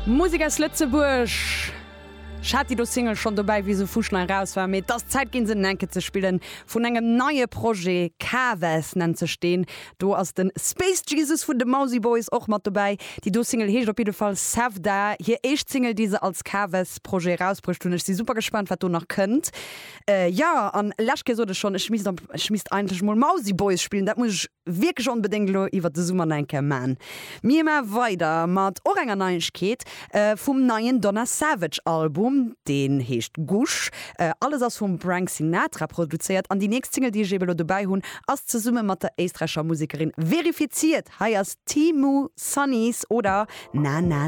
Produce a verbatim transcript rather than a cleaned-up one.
Musek aus Lëtzebuerg. Ech hat déi do Single schonn dobäi wéi se fuschnei raus war, mee et ass Zäit ginn se enke ze spillen vun engem neie Projet, Kaves nennt sech deen. Do ass de Space Jesus vun de Mausi Boys och mat dobäi. Déi do Single heescht op jidde Fall Sevda, hir éischt Single déi se als Kaves Projet erausbruecht hunn. Ech si super gespaant wat do nach kënnt. Jo an lescht Kéier sot ech schonn, ech misst ech misst eigentlech mol Mausi Boys spillen, dat muss ech wierklech onbedéngt elo iwwert de Summer nach eng Kéier man. Mir ma weider mat och enger Neiegkeet vum neien Donna Savage Album, deen heescht Gush. Alles ass vum Brank Sinatra produzéiert an déi nächst Single déi ech eben elo dobäi hunn ass zesumme mat der éisträicher Musekerin Verifiziert. Hei ass Teemu Sunnies oder Na Na